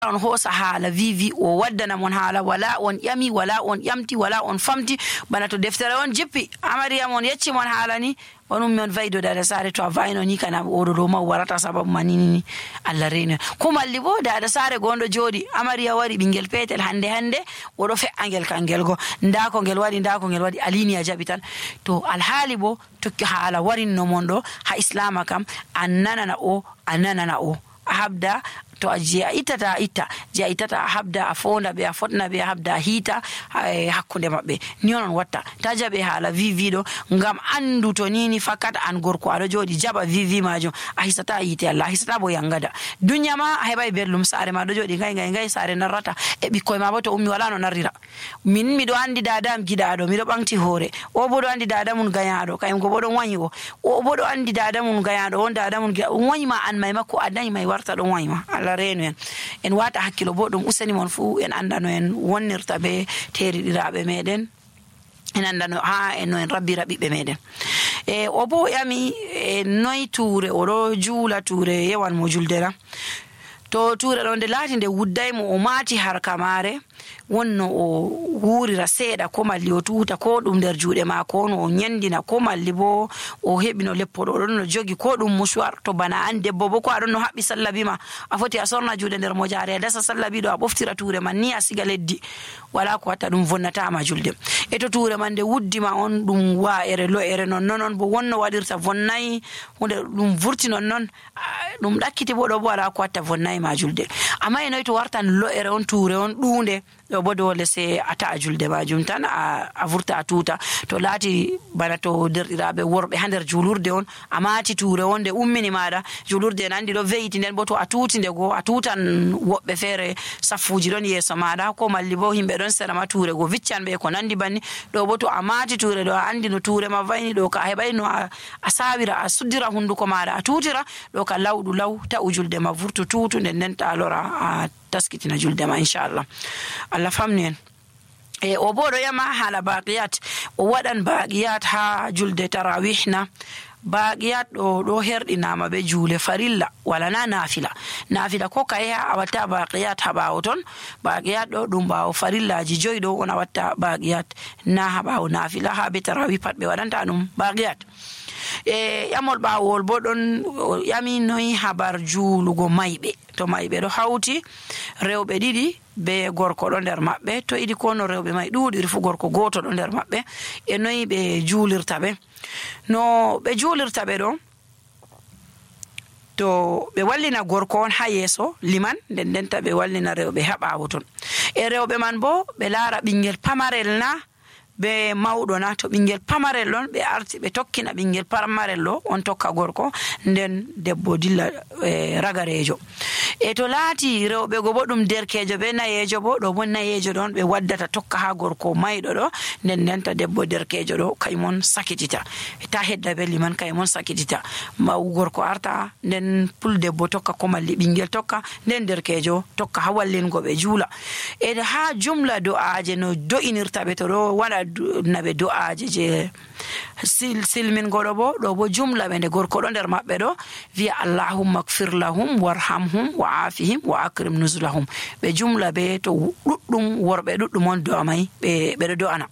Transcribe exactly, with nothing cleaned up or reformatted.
on hosa haala vivi o waddana mon haala wala on yami wala on yamti wala on famti bana to deftere on jippi amariya mon yecci mon haala ni on ummi on vaydo dada sare to a vayno ni kana oɗo ɗo ma warata sababu manini Allah reni ko malli bo dada sare gondo jodi amariya wari bingel petel hande hande oɗo fe'angel kangel go nda ko ngel wadi nda ko ngel wadi alini a jabi tan to alhaali bo tokki haala warinno mon do ha islama kam annana o annana o habda to a je a itata itta je a itata a habda a fonda be a fotna be a habda hita hakkunde mabbe ni on watta ta jabe haala vivi do ngam andu to nini fakat an gorko ado jodi jaba vivi majo a hisata yite Allah hisata bo yangada dunya ma hebay berlum sare ma do jodi ngay ngay ngay sare narrata e bikkoy ma bo to ummi wala no narrira min mi do andi dadam gidado mi do bangti hore o bo do andi dadam mun gayado kayum go bo do wanyi o o bo do andi dadam mun gayado on dadam mun wanyi ma an may makko adani may warta do wanyi ma renu en en wata hakkilo bo dum usani mon fu en andano en wonnirta be teridirabe meden en andano ha en no en rabbira bibbe meden e o bo yami e noy toure o do juula toure yewan mo juldera to toure do de lati de wudday mo o mati har kamare wonno o wurira seeda ko malli o tuuta ko dum der juude ma ko no nyandina ko malli bo o hebino leppodo don no jogi ko dum musuwar to bana an debbo bo ko adon no habbi sallabi ma a foti a sorna juude der mo jaare dasa sallabi do a boftira toure man ni a siga leddi wala ko watta dum vonnata ma julde e to toure man de wuddima on dum wa ere lo ere non non bo wonno wadirta vonnay hunde dum vurti non non dum dakkiti bo do bo wala ko watta vonnay ma julde amma enoy to wartan lo ere on toure on duunde do bodo le se ata julde majum tan a vurta a tuta to lati bana to derdirabe worbe hander julurde on amati toure wonde ummini mada julurde nandi do veyti nden bo to a tuti ndego a tutan wobbe fere safuji don yeso mada ko malli bo himbe don sera ma toure go viccan be ko nandi banni do bo to amati toure do andi no toure ma vayni do ka hebay no a sawira a suddira hunduko mada a tutira do ka lawdu law ta ujulde ma vurtu tutu nden nen ta lora a taskitina julde ma inshallah Allah famni en e o bodo yama hala baqiyat o wadan baqiyat ha julde tarawihna baqiyat do do herdinama be jule farilla wala na nafila nafila ko kay ha awata baqiyat ha bawton baqiyat do dum bawo farillaji joydo on awata baqiyat na ha bawo nafila ha be tarawih pat be wadanta dum baqiyat e yamol bawol bo don yami noy habar julugo maybe to maybe do hawti rewbe didi be gorko do der mabbe to idi kono rewbe may duudi fu gorko goto do der mabbe e noy be julirta be no be julirta be do to be wallina gorko on ha yeso liman den den ta be wallina rewbe habawo ton e rewbe man bo be laara bingel pamarel na be mawdo na to bingel pamarel don be arti be tokkina bingel pamarel lo on tokka gorko nden debbo dilla e ragarejo e to laati rewbe go bodum derkejo be nayejo bo do bon nayejo don be waddata tokka ha gorko maydo do nden nenta debbo derkejo do kaymon sakitita ta hedda be liman kaymon sakitita maw gorko arta nden pul debbo tokka ko malli bingel tokka nden derkejo tokka ha wallingo be juula e ha jumla do aaje no do inirta be to do wala nabe du'aaje je sil silmin godo bo do bo jumla be gorko do der mabbe do vi allahumma ighfir lahum warhamhum wa'afihim wa akrim nuzulahum be jumla be to duddum worbe duddum on do amay be be do ana